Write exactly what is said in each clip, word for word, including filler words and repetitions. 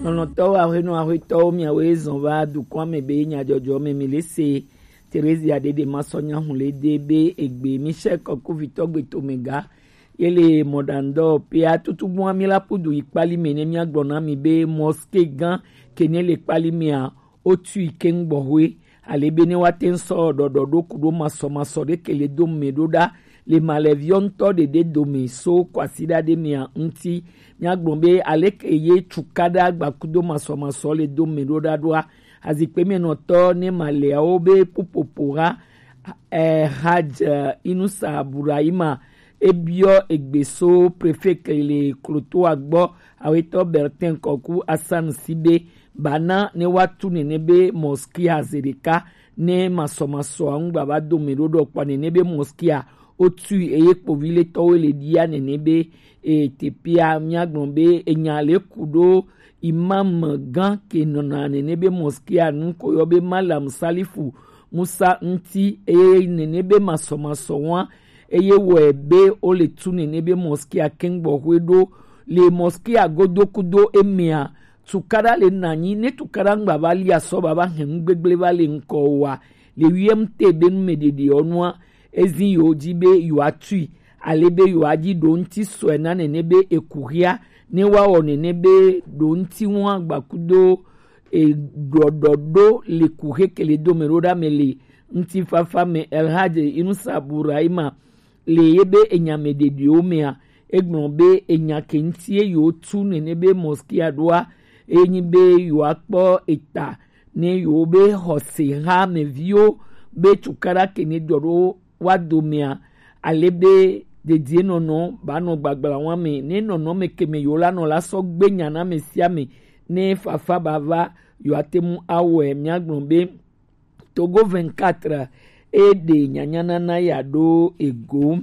Lɔlɔ̃tɔwo, aƒenɔ, aƒetɔwo, miawoe zɔn va dukɔa me be nyadzɔdzɔ me mi le se. Terezia ɖeɖe ma sɔ nya hun le de be egbe Michel Kɔkuvitɔ gbe to me ga. Ye le mɔɖaŋdɔ pea tutugbua mi la pudu yi kpali me ne miagblɔ na mi be mɔske gã ke ne le kpali mea, wotui keŋ gbɔxwe, ale be ne woate ŋu sɔ ɖɔɖɔɖo ku ɖo masɔmasɔ ɖe ke le do me ɖo ɖa le malɛviɔ ŋutɔ ɖeɖe dome so kwasiɖa ɖe mea ŋuti. Míagblɔ be aleke ye cukaɖa gbakudo masɔmasɔ le do me ɖo ɖa ɖoa, azikpe me nɔtɔ ne maleawo be pupopo ha eh, Haj eh, Inusa Burahima ebiɔ egbe so prefet le klotoa gbɔ, awetɔ Bertin Kɔku Asan si be bana ne woatu nene be mɔskia ze ɖeka ne masɔmasɔa ŋu gbava do me ɖo ɖɔ kpɔ nene be mɔskia wotui eye kpoviletɔwo le ɖia nene be e, teƒea míagblɔ be enya le ku ɖo imam gã ke nɔna nene be mɔskia nu ko yɔ be Malam Salifu Musa ŋuti eye nene be masɔmasɔ wa eye wɔe be wole tu nene be mɔskia kɛŋgbɔxwe ɖo le mɔskia godo kudo emea tukaɖa le nanyi ne tukaɖa ŋgba va lia sɔ baba hɛn nu gbegble va le ŋkɔ wa le wiɛm te be nu me ɖeɖe ɔnua ezi yewo dzi be yewoatui ale be yewoadzi ɖo ŋuti sɔe na nene be ekuxia ne woawɔ nene be ɖo ŋuti ŋua gbakudo e ɖɔɖɔɖo le kuxe kele dome ɖo ɖa me le ŋutifafa me. Elhadj Inusa Burahima le ye be enyame ɖeɖewo mea egblɔ be enya ke ŋuti ye yewotu nene be mɔskia ɖoa enyi be yewoakpɔ eta ne yewo be xɔse ha me viwo be tukaɖa ke ne ɖɔ ɖo wa domea ale be dedienɔnɔ ba nɔ gbagbla wa me ne nɔnɔme ke me yewo la nɔ la sɔ gbe nya na ame sia ame ne fafa ba va yewoate ŋu awɔe. Míagblɔ be Togo vingt-quatre e ɖe nyanyanana ya ɖo ego.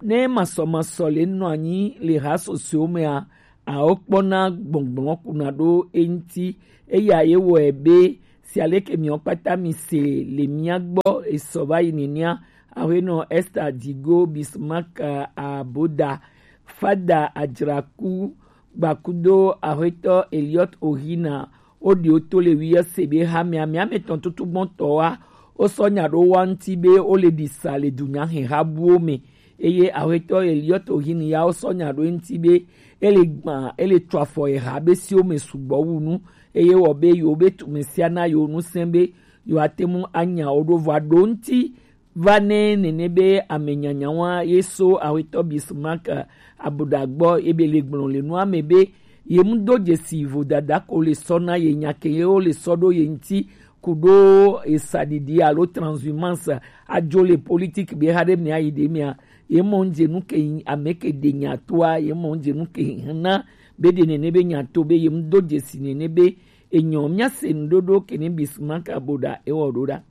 Ne masɔmasɔ le nɔ anyi le ha sɔsɔewo mea, awo kpɔna gbɔngbɔn kuna ɖo eŋuti. Eya ye wɔe be si aleke miɔ kpata mi se le mía gbɔ esɔ va yi nenia, aƒenɔ Esther Digo, Bismarck Aboda, Fada Adzraku, gbakudo aƒetɔ Eliot Ohina, woɖi wo to le wiɔ se be hamea mea me tɔn tutu gbɔn tɔ wa wosɔ nya ɖo wa ŋuti be wole ɖi sa le dunya hɛn ha buwo me. Eye aƒetɔ Eliot Ohina ya wosɔ nya ɖo ŋuti be ele gbã ele tso afɔ eha be siwo me sugbɔ wu nu eye wɔ be yewo be tume sia na yewo ŋusẽ be yewoate ŋu anya wo ɖo vɔa ɖo ŋuti va ne nene be ame nyanyawa ye so awetɔ Bismarck Aboda gbɔ ebe le gblɔ le nua me be ye mu do dzesi vodada ko le sɔ na ye nya ke ye wo le sɔ ɖo ye ŋuti ku ɖo esaɖiɖi alo transhumance adzo le politique be ha ɖe mea yi ɖe mea ye mɔ ŋdze nu ke ame ke ɖe nya toa ye mɔ ŋdze nu ke na be ɖe nene be nya to be ye mu do dzesi nene be enyɔ mía se ŋɖoɖo ke ne Bismarck Aboda ewɔ ɖo ɖa.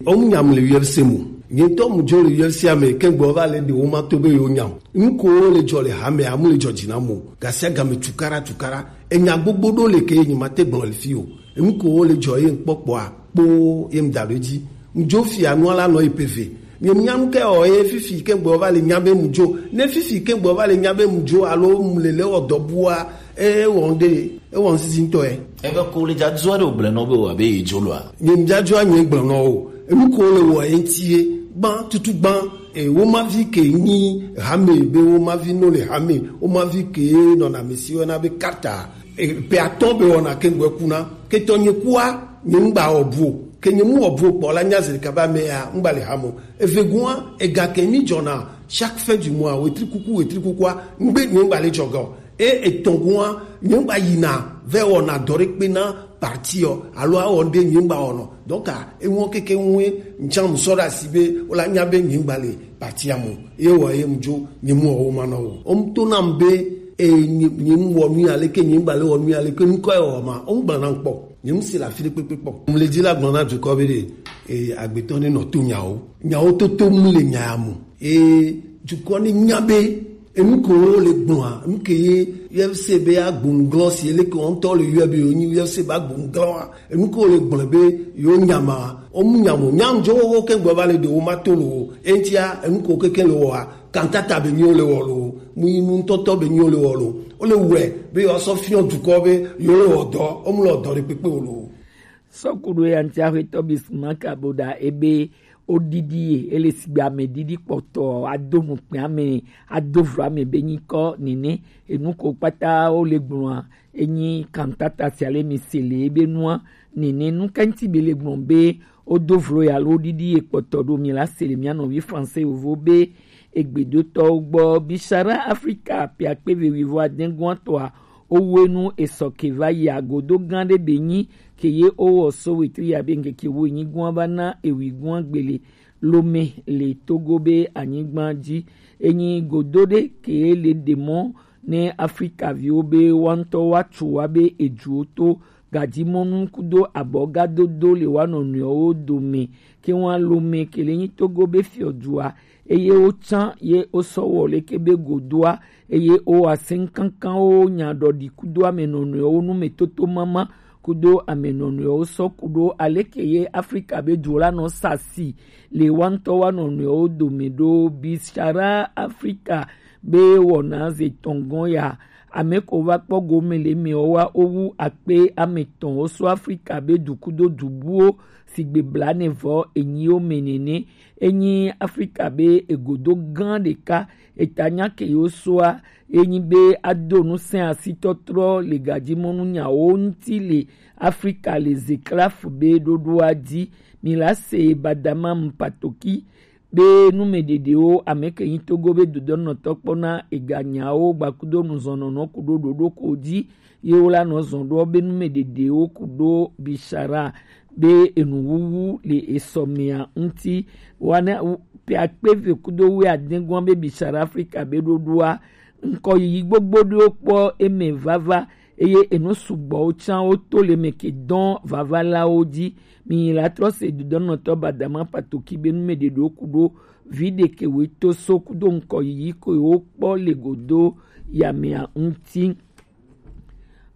Omu nyam le U F C mo. Nye ŋutɔ mu dzo le U F C ame ke gbɔ va le ɖe wo ma to be yo nyam. Nu ko le dzɔ le hame amu le dzɔ dzi na mo. Gasia game tukara tukara. Enya gbogbo ɖo le ke nyi ma te gblɔ le fi o. Enu ko le dzɔ ye ŋkpɔkpɔa kpo ye ŋda ɖo edzi. Ŋdzo fia nua la nɔ yi peve. Nye nya nu ke ɔ ye fifi ke gbɔ va le nya be mu dzo. Ne fifi ke gbɔ va le nya be mu dzo alo mu le le wɔ dɔ bua e wɔ ŋɖe e wɔ ŋsisi ŋtɔ ye. Ebe ko le dzadzua ɖe wògblẽ nɔ be wòabe yedzo loa? Nye dzadzua nye gblɔ nɔ o. Enu ko le wɔ ye ŋti ye gbã tutu gbã. E, wo mavi ke nyi hame be wo mavi no le hame, wo mavi ke nɔna mesi wɔna be kata. E, pe atɔ be wɔna ke ŋgbɛ kuna. Ke tɔ nye kua, nye ŋgba wɔ bu o. Ke nye mu wɔ bu o kpɔ la nya zeli kaba me ya, ŋgba le hame o. Eve gua, ega ke mi dzɔna chaque fin du mois, wetri kuku, wetri kukua, ŋgbe nye ŋgba le dzɔ ga o. E etɔ̃ gua, nye ŋgba yina vɛ wɔna dɔ ɖe kpe na parti ɔ, alo awɔ ŋɖe nye ŋgba wɔnɔ. Donc, ah, eŋɔ keke ŋue ŋtsã mu sɔ ɖe asi be wola nya be nye ŋgba le parti a mu. Ye wɔ ye mu dzo nye mu wɔ wo ma nɔ wo. Wo mu to nam be e nye nye mu wɔ nu ya leke nye ŋgba le wɔ nu ya leke ŋkɔ ye wɔ ma. Wo mu gblɔ nam kpɔ. Nye mu si le afi ɖe kpekpe kpɔ. Mu le dzi la gblɔ na dukɔ be ɖe e agbetɔ ne nɔ to nyawo. Nyawo toto mu le nya ya mu. Ee, dukɔ ne nya be enu ko wo le gblɔa, enu ke ye U F C be agbo ŋglɔ si ele ke wɔntɔ le yɔ be yo nyi U F C be agbo ŋglɔa, enu ko wo le gblɔ be yo nyama, o mu nyamo, nyam jo wo ke gbe va le de wo ma to lo, entia enu ko keke le wɔa, kantata be nyi wo le wɔ lo, Mu yi nu ŋutɔtɔ be nyi wo le wɔ lo. Wo le wɛ be yewoasɔ fiɔ dukɔ be yewo le wɔ dɔ, wo mu le wɔ dɔ ɖe kpekpe o lo. Sɔkuɖo ya ŋuti axwetɔ Bismarck Aboda ebe woɖiɖi ye, ele sigbe ame ɖiɖi kpɔtɔ, ado nukpe ame, ado vlo ame be nyikɔ nene, enu ko kpata wo le gblɔa, enyi kantata sia le mi se le ebe nua nene. Nu ka ŋuti be le gblɔ be wodo vlo ya lo ɖiɖi ye kpɔtɔ ɖo mi la se le mia nɔvi français yovo be egbedotɔwo gbɔ. Bishara Afrika piakpe ve wivɔ adɛngɔn tɔa, owe nu esɔ ke va yi agodo gã ɖe be nyi ke ye owɔ so wetri ya be ŋkeke wo nyi gɔn va na ewi gɔn gbele lome le Togo be anyigba dzi. Enyi godo ɖe ke le ɖe mɔ ne Afrika viwo be woaŋutɔ woatso wa be eduwo to gadzimɔnu kudo abɔgadodo le wa nɔnɔewo dome. Ke wa lome ke le nyi Togo be fiɔdua, eye wotsã ye wosɔ wɔ leke be godoa, eye wo aseŋkankanwo nya ɖɔɖi kudo ame nɔnɔewo nu me toto mama kudo ame nɔnɔewo sɔ kudo aleke ye Afrika be du la nɔ sasi le wa ŋutɔ wa nɔnɔewo dome ɖo. Bishara Afrika be wɔna ze tɔngɔn ya, ame ko va kpɔ gome le me wa owu akpe ame tɔn wo so Afrika be du kudo du buwo sigbe blanevɔ enyi wo me nene. Enyi Afrika be egodo gã ɖeka, eta nya ke yo soa, enyi be ado nu sɛn asitɔtrɔ le gadzimɔnu nyawo ŋuti le Afrika le zeklaf be ɖoɖoa dzi. Mi la se badama mpatoki be numeɖeɖewo ame ke nyi Togo be dodɔnɔtɔ kpɔna eganyawo gbakudo nuzɔnɔnɔ kudo ɖoɖo ko dzi ye wo la nɔ zɔn ɖo be numeɖeɖewo kudo Bishara be enuwuwu le esɔmea ŋuti. Wana pe akpe ve kudo wu adɛngɔn be Bishara Afrika be ɖoɖoa ŋkɔ yiyi gbogbo ɖewo kpɔ eme vava, eye enu sugbɔwo tsã wo to le me ke dɔn vavalawo dzi. Mi la trɔ se dodɔnɔtɔ badama patoki be numeɖeɖewo kudo vi ɖeke we to so kudo ŋkɔ yiyi ko wo kpɔ le godo yamea ŋuti.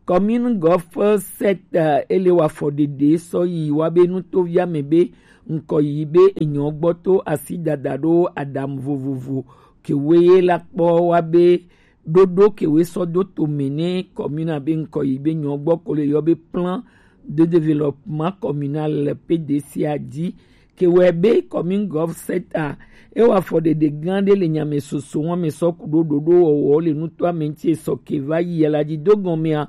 Commune Golf sept, eh, ele wa fɔ ɖeɖe sɔ yi wa be nutovia me be ŋkɔ yiyi be enyɔ gbɔ to asi dada ɖo adamu vovovo ke we ye la kpɔ wa be ɖoɖo ke we sɔ do to me ne commune be ŋkɔ yiyi be nyɔ gbɔ ko le yɔ be plan de développement communal P D C a dzi. Ke wɛ be commune Golf sept a, e wa fɔ ɖeɖe gã ɖe le nyame soso wɔn me sɔ ku ɖo ɖoɖo wɔwɔ le nuto ame ŋuti esɔ ke va yi la dzi do gɔmea.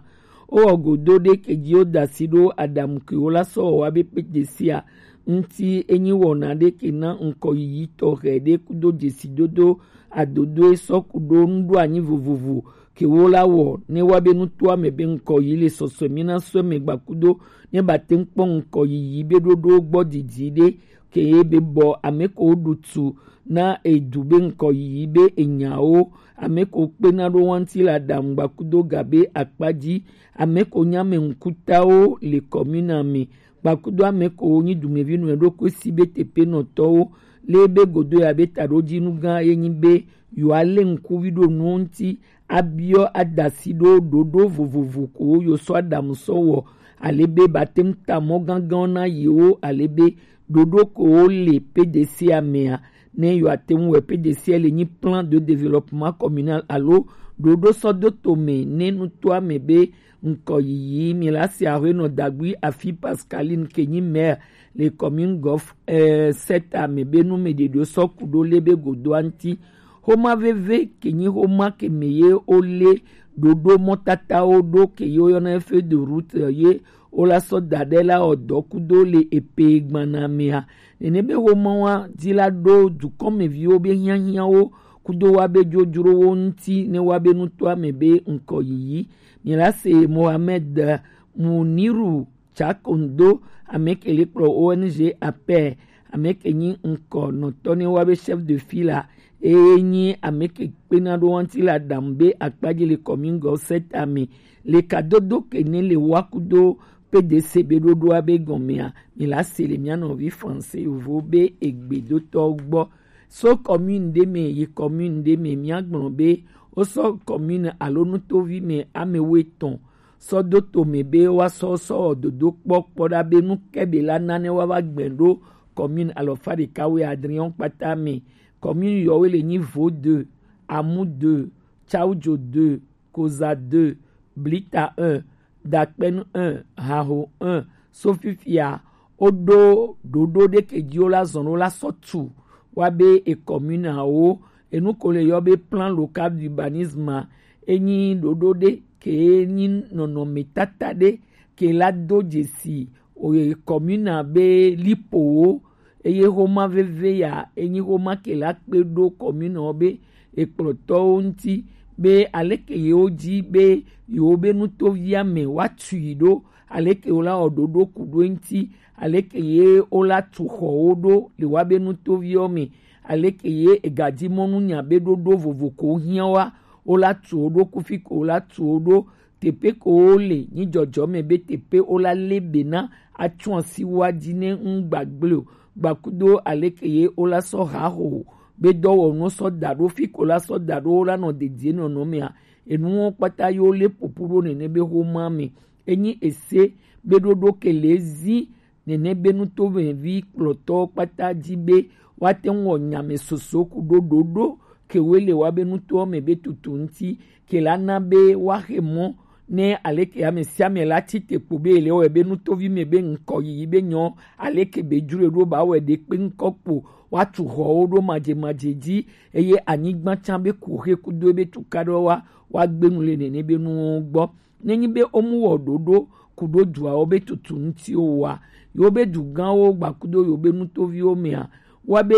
O wɔ godo ɖe ke dzi o da si ɖo adamu ke wo la sɔ wɔ wa be P D C a ŋuti enyi wɔna ɖe ke na ŋkɔ yiyi tɔxɛ ɖe kudo dzesi dodo adodo esɔ ku ɖo nuɖo anyi vovovo ke wo la wɔ ne wa be nuto ame be ŋkɔ yi le sɔsɔ mi na sɔ me gbakudo ne ba te ŋkpɔ ŋkɔ yiyi be ɖoɖo gbɔ didi ɖe ke ye be bɔ ame ko ɖu tu na edu be ŋkɔ yiyi be enyawo, ame ko kpena ɖo wanti la ɖaŋu gbakudo ga be akpa dzi, ame ko nya ame ŋkutawo le kɔmina me, gbakudo ame ko nyi dumevi nɔ ɖokui si be teƒenɔtɔwo le be godo ya be taɖodzinu gã ye nyi be yewoa le ŋkuvi ɖo nuwo ŋuti abiɔ adasi ɖo ɖoɖo vovovo ko yo sɔ aɖamu sɔ wɔ ale be ba te ŋu ta mɔ gãgãwo na yewo ale be ɖoɖo ko wo le P D C a mea ne yewoa te ŋu wɔ P D C a le nyi plan de développement communal alo ɖoɖo sɔ do to me ne nutoa me be ŋkɔ yiyi mi la se aƒenɔ Dagui Afi Pascaline ke nyi maire le commune Golf eh, sept a me be nu me ɖeɖo sɔ ku ɖo le be godoa ŋuti. Xoma veve ke nyi xoma ke me ye wo le ɖoɖo mɔtatawo ɖo ke ye wo yɔna feuille de route ye wo la sɔ da ɖe la wɔ dɔ kudo le epe gbana mea. Nene be xoma wa dzi la ɖo dukɔmeviwo be hiahiawo kudo wa be dzodzrowo ŋuti ne wa be nutoa me be ŋkɔ yiyi. Mi la se Mohamed Muniru Chakondo, ame ke le kplɔ O N G Aper, ame ke nyi ŋkɔ nɔtɔ ne wa be chef de file, eye nyi ame ke kpena ɖo wanti la ɖamu be akpadzi le commune Golf sept a me. Le kadodo ke ne le wa kudo P D C be ɖoɖoa be gɔmea, mi la se le mia nɔvi français yovo be egbedotɔ gbɔ. So commune ɖe me yi commune ɖe me, mia gblɔ be wo sɔ commune alo nutovi me ame wo etɔn sɔ do to me be woasɔ sɔ wɔ dodo kpɔ kpɔ ɖa be nu ke be la na ne woava gbɛ ɖo commune alɔfa ɖeka wuiadre kpata me. Commune yɔwo le nyi Vaud deux, Amu deux, Tchaujo deux, Koza deux, Blita un, Dakpenu un, Haho un, so fifia woɖo ɖoɖo ɖe ke dzi wo la zɔn wo la sɔ tu wa be e commune awo, enu ko le yɔ be plan local d'urbanisme a, enyi ɖoɖo ɖe ke nyi nɔnɔme tata ɖe ke la do dzesi o ye commune a be lipowo, eye xoma veve ya enyi xoma ke la kpe ɖo commune wo be ekplɔtɔwo ŋuti be aleke yewo dzi be yewo be nutovia me wa tui ɖo, aleke wo la wɔ ɖoɖo ku ɖo eŋuti, aleke ye wo la tu xɔwo ɖo le wa be nutoviwo me, aleke ye egadzi mɔnu nya be ɖoɖo vovo ko hiã wa wo la tu wo ɖo, kufi ko wo la tu wo ɖo, teƒe ko wo le nyi dzɔdzɔ me be teƒe wo la le be na atsu asi wa dzi ne ŋu gbagble o, gbakudo aleke ye wo la sɔ ha ho be dɔwɔnuwo sɔ da ɖo fi ko la sɔ da ɖo wo la nɔ dedie nɔnɔ mea, enuwo kpata yo le popo ɖo nene be xoma me. Enyi ese be ɖoɖo ke le zi nene be nutovevi kplɔtɔwo kpata dzi be woate ŋu wɔ nyame soso ku ɖo ɖoɖo ke woe le wa be nutowo me be tutu ŋuti ke la na be woaxe mɔ ne aleke ame sia ame la tsi te kpo be ele wɔe be nutovi me be ŋkɔ yiyi be nyɔ aleke be dzro ɖo ba wɔe ɖe kpe ŋkɔ kpo woatu xɔwo ɖo madzemadze dzi eye anyigba tsã be ku xe kudo ebe tukaɖewo wa woagbe nu le nene be nuwo gbɔ. Nenyi be womu wɔ ɖoɖo ku ɖo duawo be tutu ŋuti o wa, yewo be dugãwo gbakudo yewo be nutoviwo mea, wa be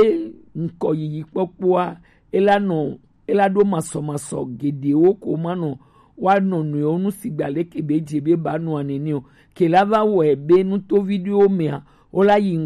ŋkɔ yiyi kpɔkpɔa ela nɔ ela ɖo masɔmasɔ geɖewo ko manɔ wa nɔ nɔewo nu sigba leke be dze be ba nɔa nene o. Ke la va wɔe be nutovi ɖewo mea, wo la yi